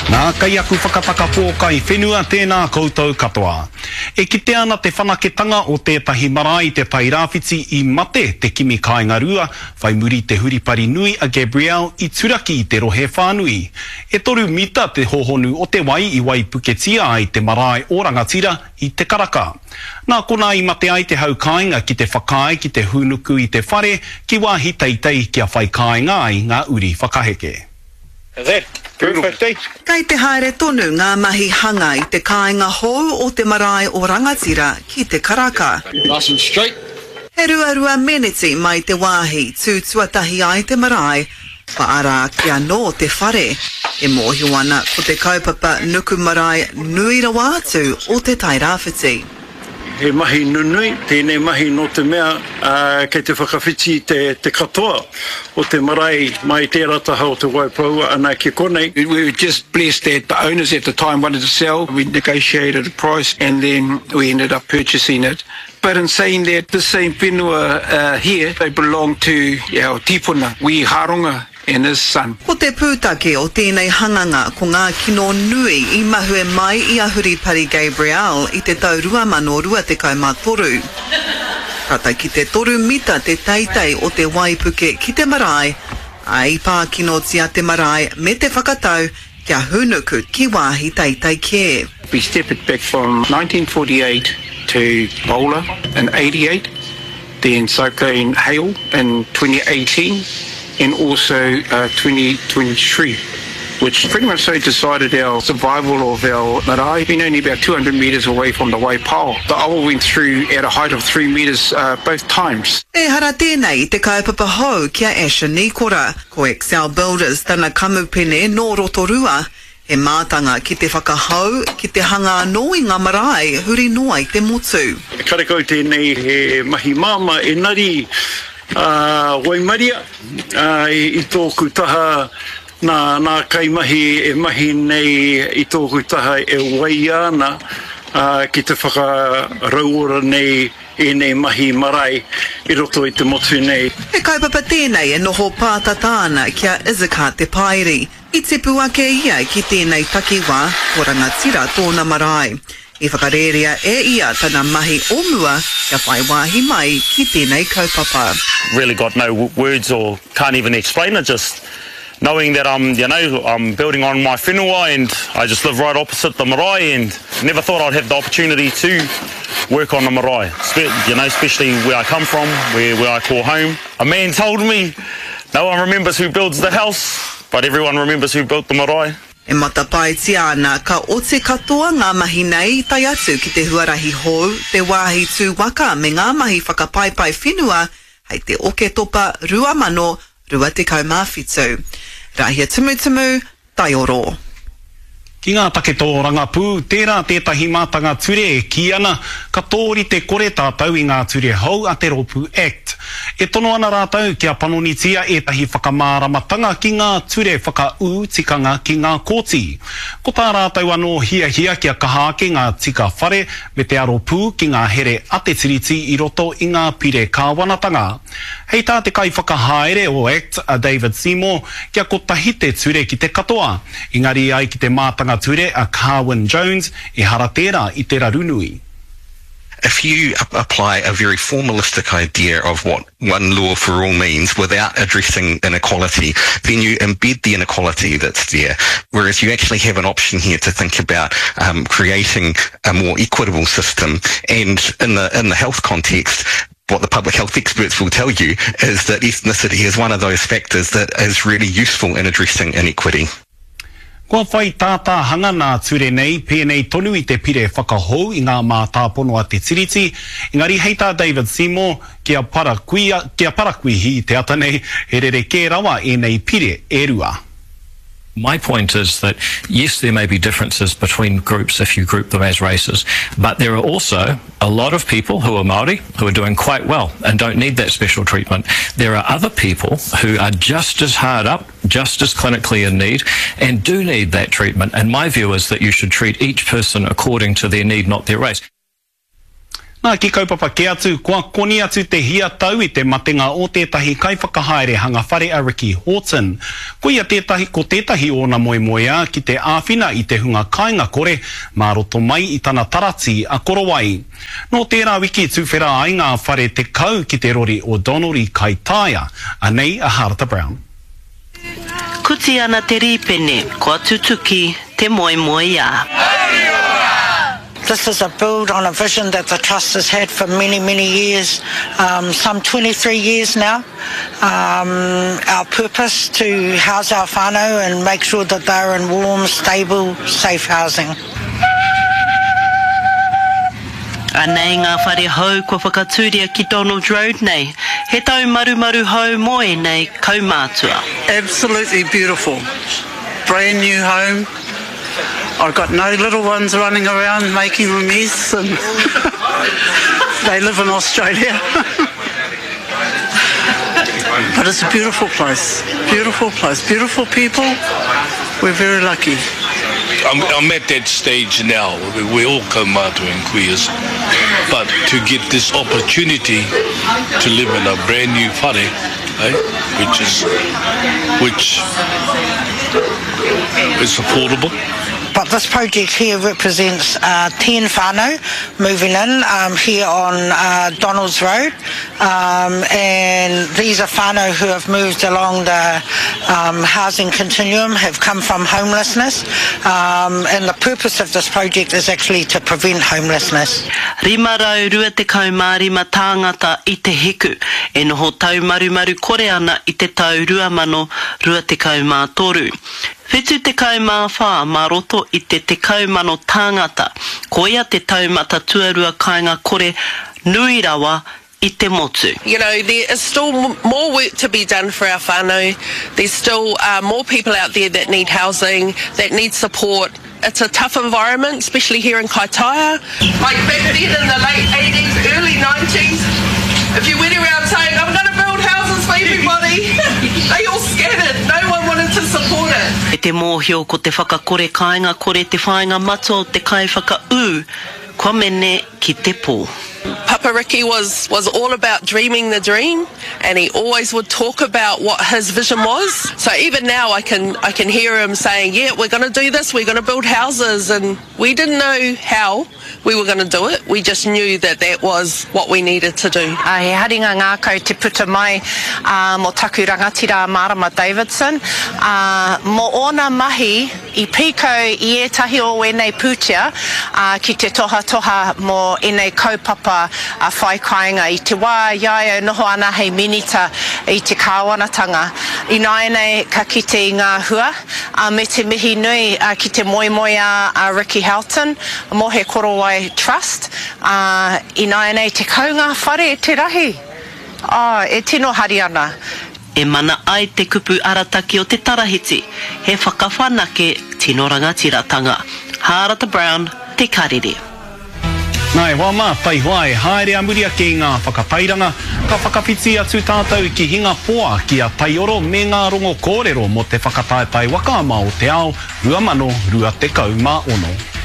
Nā, kei aku whakataka pōkai whenua tēnā koutou katoa. E kitea ana te whanaketanga o tētahi marae i Te Tairāwhiti i mate te kimi kāinga rua, whai muri te huripari nui a Gabrielle i turaki i te rohe whānui. E toru mita te hohonu o te wai i waipuketia ai te marae o Rangatira i Te Karaka. Nā konā i mate ai te hau kāinga ki te whakaae ki te hūnuku i te whare ki wāhi teitei kia whai kāinga ai ngā uri whakaheke. Kei te haere tonu ngā mahi hanga i te kāinga hou o te marae o Rangatira ki Te Karaka. He ruarua meneti mai te wāhi tū tuatahi ai te marae, kua ara ake anō te whare. E mōhio ana ko te kaupapa nuku marae nui rawa atu o Te Tairāwhiti. He mahi nunui tēnei mahi nō te mea kei te whakawhiti te katoa o te marae mai tērā taha o Te Waipoua ana ki konei. We were just blessed that the owners at the time wanted to sell, we negotiated a price and then we ended up purchasing it. But in saying that, this same whenua here, they belong to our tipuna, Wi Haronga and his son. Ko te pūtake o tēnei hanganga ko ngā kino nui i mahue mai i a Huripari Gabrielle i te tau 2023. Tata ki te toru mita te teitei o te waipuke ki te marae, ā, i pā kinotia te marae me te whakatau kia hūnuku ki wāhi teitei kē. We step it back from 1948 to Bola in 88. Then Cyclone Hale in 2018 and also 2023, which pretty much so decided our survival of our marae, being only about 200 metres away from the Waipao. The awa went through at a height of three metres both times. Ehara tēnei i te kaupapa hou ki a Asher Nikora. Ko Excel Builders tana kamupene nō Rotorua, He mātanga ki te whakahou, ki te hanga anō i ngā marae huri noa i te motu. Karekau tēnei he mahi māmā engari waimaria i tōku taha nā nā kaimahi e mahi nei i tōku taha e waia ana ki te whakarauora nei ēnei mahi marae i roto i te motu nei. He kaupapa tēnei e noho pātata ana ki a Izakar Te Pairi. I tipu ake ia ki tēnei takiwā, ko Rangatira tōna marae. I whakarērea e ia tana mahi o mua kia whai wāhi mai ki tēnei kaupapa. Really got no words or can't even explain it, just knowing that I'm, you know, I'm building on my whenua and I just live right opposite the marae and never thought I'd have the opportunity to work on the marae, you know, especially where I come from, where, where I call home. A man told me, no one remembers who builds the house, But everyone remembers who built the marae. E matapaetia ana ka oti katoa ngā mahi nei tae atu ki te huarahi hou, te wāhi tū waka me ngā mahi whakapaipai whenua hei te Oketopa 2027. Rahia Tumutumu, Taioro. Ki ngā take tōrangapū, tērā tētahi mātanga ture e kī ana, ka tōrite kore tātou i ngā ture hou a te rōpū act. E tono ana rātou kia panonitia ētahi whakamāramatanga ki ngā ture whakaū tikanga ki ngā kōti. Ko tā rātou anō hiahia kia kaha ake ngā tika whare me te aro pū ki ngā here a te Tiriti i roto i ngā pire kāwanatanga. Hei tā te kaiwhakahaere o act a David Seymour, kia kotahi te ture ki te katoa. Engari ai ki te mātanga ture a Carwyn Jones, ehara tērā i te raru nui. If you apply a very formalistic idea of what one law for all means without addressing inequality, then you embed the inequality that's there. Whereas you actually have an option here to think about um, creating a more equitable system. And in the, in the health context, what the public health experts will tell you is that ethnicity is one of those factors that is really useful in addressing inequity. Kua whai tātāhanga nā ture nei, pēnei tonu i te pire whakahou i ngā mātāpono a te Tiriti, engari hei tā David Seymour, kia parakuia, kia parakuihi i te ata nei, he rerekē rawa ēnei pire e rua. My point is that yes, there may be differences between groups if you group them as races, but there are also a lot of people who are Māori who are doing quite well and don't need that special treatment. There are other people who are just as hard up, just as clinically in need, and do need that treatment. And my view is that you should treat each person according to their need, not their race. Nā, ki kaupapa kē atu, kua koni atu te hia tau i te matenga o tētahi kaiwhakahaere hanga whare a Ricky Horton. Koia tētahi, ko tētahi ōna moemoeā ki te āwhina i te hunga kāinga kore mā roto mai i tana taratī a Korowai. Nō tērā wiki tuwhera ai ngā whare 10 ki te rori o Donald i Kaitaia. Anei a Harata Brown. Kuti ana te rīpene, kua tutuki te moemoeā. This is a build on a vision that the Trust has had for many, many years, um, some 23 years now. Um, our purpose to house our whānau and make sure that they're in warm, stable, safe housing. Anei ngā whare hou kua whakatūria ki Donald Road nei, he taumarumaru hou mō ēnei kaumātua. Absolutely beautiful. Brand new home. I've got no little ones running around making a mess and they live in Australia. but it's a beautiful place. Beautiful place. Beautiful people. We're very lucky. I'm, I'm at that stage now. We, we all kaumātua and queers. But to get this opportunity to live in a brand new whare, eh, which is which is affordable. But this project here represents uh, 10 whānau moving in um, here on uh, Donalds Road. Um, and these are whānau who have moved along the um, housing continuum, have come from homelessness. Um, and the purpose of this project is actually to prevent homelessness. 525 tāngata i Te Hiku e noho taumarumaru kore ana i te tau 2023. 74 mā roto i te 10,000 tāngata, koia te taumata tuarua kāinga kore nui rawa i te motu. You know, there is still more work to be done for our whānau. There's still uh, more people out there that need housing, that need support. It's a tough environment, especially here in Kaitaia. Like back then in the late 80s, early 90s, if you went around saying, I'm going to build houses for everybody, they all scattered. No one wanted to support it. I te mōhio ko te whakakore kāinga kore te whāinga matua o te kaiwhakaū, kua mene ki te pō. Papa Ricky was, was all about dreaming the dream and he always would talk about what his vision was. So even now I can, I can hear him saying, yeah, we're going to do this, we're going to build houses. And we didn't know how we were going to do it. We just knew that that was what we needed to do. Uh, he haringa ngākau te puta mai uh, mō taku rangatira a Marama Davidson, uh, mō ōna mahi I pīkau i ētahi o ēnei pūtea ki te tohatoha mō ēnei kaupapa whai kāinga i te wā i a ia e noho ana hei Minita i te Kāwanatanga. Ināianei ka kite i ngā hua, me te mihi nui ki te moemoeā a Ricky Houghton mō He Korowai Trust, ā, ināianei 10 ngā whare te rahi! Ā, e tino hari ana. E mana ai te kupu arataki o te tarahiti, he whakawhanake tino rangatiratanga. Hārata Brown, Te Karere. Nā, e hoa mā, taihoa e haere a muri ake i ngā whakatairanga, ka whakawhiti atu tātou ki Hingapoa, ki a Taioro me ngā rongo kōrero mō te whakataetae waka ama o te ao 2026.